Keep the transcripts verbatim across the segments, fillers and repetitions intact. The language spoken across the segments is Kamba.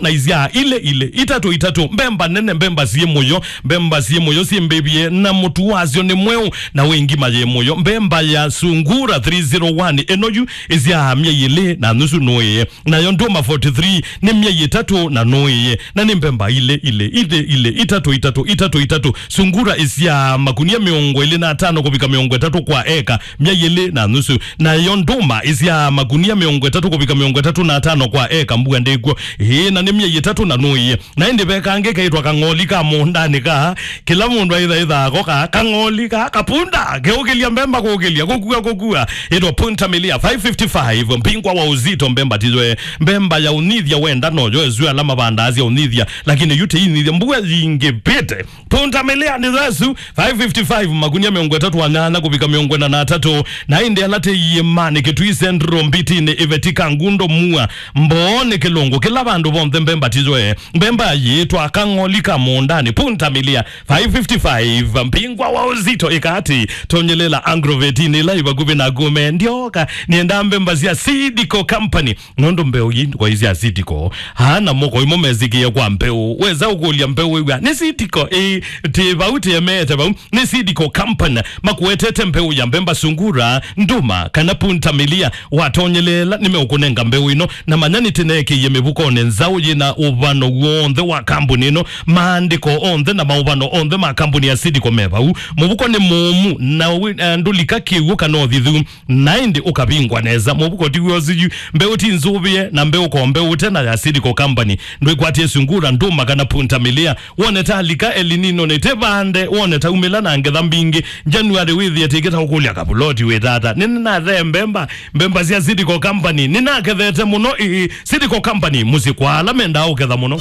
na isyaa ilĩ ilĩ, itatũ itatũ, mbemba nene, mbemba syĩ mũyo, mbemba syĩ mũyo syĩmbĩvye, na mũtu wasyo nĩ mweũ, na wĩ ngima yĩ mũyo. Mbemba ya Sungura three zero one ĩno yu ĩsyaa myei ĩlĩ na nusu nũĩe. Nayo ndũma forty-three nĩ myei ĩtatũ na nũĩe, na nĩ mbemba ilĩ ilĩ, ilĩ ilĩ, itatũ itatũ, itatũ itatũ. Sungura ĩsyaa makunia mĩongo ĩlĩ na atano kũvika mĩongo ĩtatũ kwa eka, myei ĩlĩ na nusu. Nayo ndũma ĩsyaa makunia mĩongo ĩtatũ kũvika mĩongo ĩtatũ na atano kwa eka, mbua ndĩkw'o. Ĩĩ, na nĩ myei ĩtatũ na nũĩe. Na ĩndĩ ve kangĩ keĩtwa kang'oli ka mũũndanĩ ka, kĩla mũndũ aithaithaa ko ka, kang'oli ka, kapunda, keũkĩlya mbemba kũkĩlya, kũkua, kũkua. Ĩtwa Punta Milia five fifty-five, mbingwa wa uzito, mbemba tizoe, mbemba ya ũnithya wenda noyo, esu ala mavandaa sya ũnithya, lakini yu tĩinithya, mbua yingĩvĩte. Punta Milia nĩ thesu, five fifty-five, makunia mĩongo ĩtatũ na nyanya kũvika mĩongo ĩna na atatũ, na ĩndĩ ala tĩ iĩmanĩ, Kitui Central, Mbitinĩ, Iveti, Kangundo, Mua, Mboonĩ, Kĩlũngũ, kĩla vandũ vonthe mbemba tizoe. Mbemba yĩtwa kang'oli ka mũũndanĩ, Punta Milia, five fifty-five, mbingwa wa uzito ĩkati, tonyelela Agrovetinĩ ĩla ĩ vakuvĩ na Gume, ndyoka, nĩenda mbemba sya Seed Co Company, nũndũ mbeũ ii ndikoi sya Seed Co. Aa namo koi mo mesĩkĩe kwa mbeũ. Wesa ũkũlya mbeũ wĩw'a, nĩ Seed Co, ĩ, tĩ vau tĩemeete vau. Nĩ Seed Co Company makuetete mbeũ ya mbemba Sungura, ndũma, kana Punta Milia. Watonyelela, nĩmeũkũnenga mbeũ ĩno, na manya nĩtĩneekĩie mĩvukonĩ nzaũ yĩna ũvano w'onthe wa kambuni ĩno, maandĩko onthe na maũvano onthe ma kambuni ya Seed Co me vau. Mũvuko nĩ mũũmu, na wĩ, eh, ndũlika kĩw'ũ kana ũthithu. Na ĩndĩ ũkavingwa nesa. Mũvuko ti w'o ũsu yu. Mbeũ ti nzũvĩe, na mbeũ ko mbeũ tena ya Seed Co Company. Ndwĩkwatie Sungura, ndũma, kana Punta Milia. Wone ta lika El Nino nĩ tĩvande, wone ta umĩla na ngetha mbingĩ. January wĩthĩe tĩkĩta ũkũlya kavuloti wĩ tata. Nĩnathe mbemba, mbemba sya Seed Co Company. Nĩnakethete mũno, ĩĩ, Seed Co Company, mũsyĩ kwa ala mendaa ũketha mũno.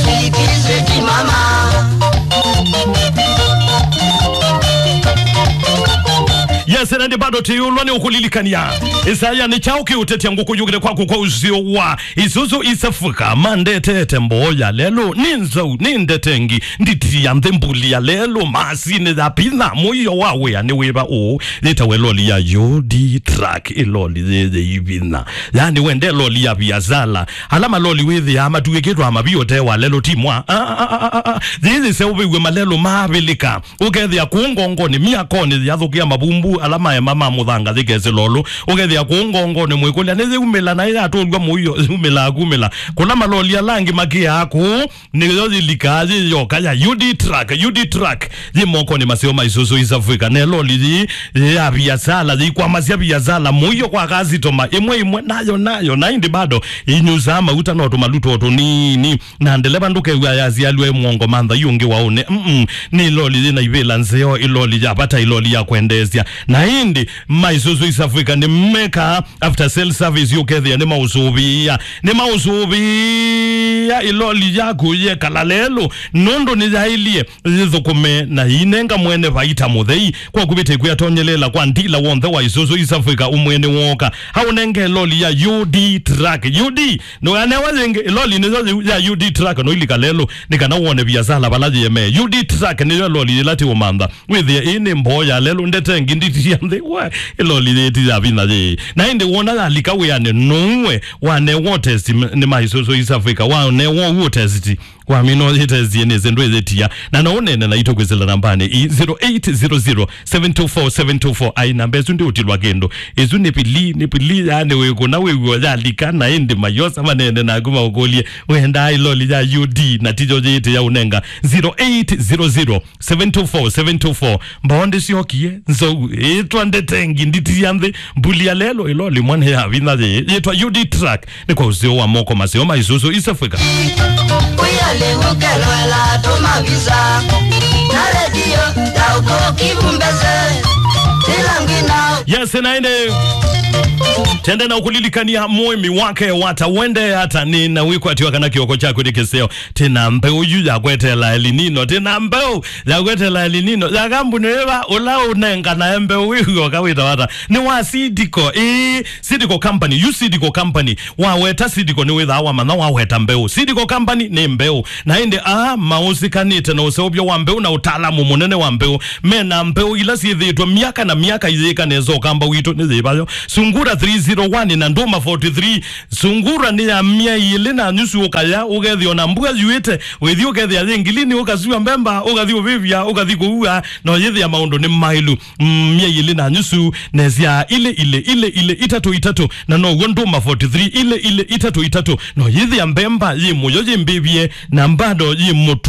Sweetie, sweetie mama. Yes, na ndi bado tiyulwa ni ukulilikania. Isaya, nĩ kyaũ kĩũtetya ngũkũ yũkĩte kwaku kwa ũseo wa Isuzu East Africa? Mandetete mboya lelo, nĩ nzau, nĩ ndetengi, nditi ya nthĩ, mbuli ya lelo, masini ya pina, mũio wa wĩa nĩ wĩva ũũ? Yĩtawe loli ya U D truck, ĩloli yĩyĩ ivina. Yani wende loli ya biasala. Ala maloli wĩthĩaa matuĩkĩtwe amavio te wa lelo timwa. Ah, ah, ah, ah, ah. Yĩyĩ seũvĩw'e malelo maavĩlĩka. Ũkethĩa kũũ ngongonĩ, myakonĩ, yathũkĩa mavumbu ala maema ma mũthanga yĩkesĩ lolũ. Ũkethĩa kũũ ngongonĩ mwĩkũlya nĩyĩumĩla na yatũlw'a mũio, yumĩlaa kumĩla. Kũla maloli ala angĩ makĩaa kũũ, nĩyo yĩlikaa yĩ yoka ya U D truck, U D truck. Yĩ mokonĩ maseo ma Isuzu East Africa. Ne loli yĩ, yĩ ya biasala, yĩikwamasya biasala, mũio kwa kasitoma, ĩmwe ĩmwe, nayo, nayo, na ĩndĩ bado, ĩnyusaa mauta no tũmaluto tũnini. Na ndeleva ndũkew'a yasialw'e mwongo mantha yu ũngĩ wa ũne. Mm-mm. Nĩ loli yĩna ivĩla nzeo, ĩloli ya vata, ĩloli ya kwendeesya. Na ĩndĩ, ma Isuzu East Africa nĩmekaa after sale service, ũkethĩa nĩmaũsũvĩĩa. Nĩmaũsũvĩĩa ĩloli yaku yekala lelũ, nũndũ nĩyaĩlye yĩthũkũme na ĩinenga mwene vaita mũthei. Kwa kũvĩtĩkw'a atonyelela kwa ndila w'onthe wa Isuzu East Africa ũmwene wooka. Aũnenge loli ya U D truck. U D, nũyanewa yĩngĩ, ĩloli nĩyo yĩu ya U D truck, noilika lelũ, nĩ kana wone viasala vala yĩemee. U D truck nĩyo ĩloli yĩla tiũmantha. Wĩthĩe ĩĩ nĩ mboo ya lelũ, ndetengi, nditi sya nthĩ, we, ĩloli yĩĩ ti ya vinya yĩĩ. Na ĩndĩ wona yalika wĩanĩ, nũue, wanewa ũtesti m-, nĩ ma Isuzu East Africa, wanewa ũu ũtesti. Wamina ũyĩtestie nĩsĩ ndwĩyĩtia. Na no ũneene naitũ kwĩsĩla nambanĩ ii, zero eight zero zero, seven two four, seven two four. Ai, namba ĩsu ndĩũtilwa kĩndũ. Ĩsu nĩ pili, nĩ pili, yani wĩkũna wĩw'o yalika, na ĩndĩ mayosa maneene naku maũkũlye, wendaa ĩloli ya U D, na tiyo yĩĩtĩ ya ũnenga. Zero eight zero zero, seven two four, seven two four. Mbao ndĩsyokie, nzou, ĩtwa ndetengi, nditi ya nthĩ, mbuli ya lelo, ĩloli mwana ya vinya yĩ, yĩtwa U D truck. Nĩ kwa ũseo wa moko maseo ma Isuzu East Africa. Ũyalĩw'ũkelwela tũmavisa na redio ya ũkũkĩvu mbese ĩla ngwina. Yes, na ĩndĩ tende na ũkũlilikania mũĩmi wake wata wende ata nĩ na wĩkwatiwa kana kĩoko kyaku nĩ kĩseo. Tĩna mbeũ yu ya kwetela El Nino, tĩna mbeũ ya kwetela El Nino ya kambuni ĩva ũla ũnenganae mbeũ wĩw'oka wĩta wata. Nĩ wa Seed Co, ĩĩ, Seed Co Company, yu Seed Co Company. Waweta Seed Co nĩwĩthaa wamanya waweta mbeũ. Seed Co Company nĩ mbeũ. Na ĩndĩ aa maũsikanĩte na ũseũvyo wa mbeũ na ũtaalamu mũnene wa mbeũ. Mena mbeũ ila syĩthĩĩtwe myaka na myaka iyĩka nesa ũkamba witũ nĩ yĩvayo. Sungura three zero one na ndũma forty three. Sungura nĩ ya myei ĩlĩ na nyusu ũkaya, ũkethĩa ona mbua yuĩte, wĩthi ũkethĩa yĩ ngilini, ũkasua mbemba, ũkathi ũvĩvya, ũkathi kũua, no yĩthĩa maũndũ nĩ maĩlu. Mm, myei ĩlĩ na nyusu, nesya ilĩ ilĩ ilĩ ilĩ itatũ itatũ, na now'o ndũma forty three ilĩ ilĩ itatũ itatũ, no yĩthĩa mbemba yĩ mũyo yĩ mbĩvye, na mbado yĩ mũtumu.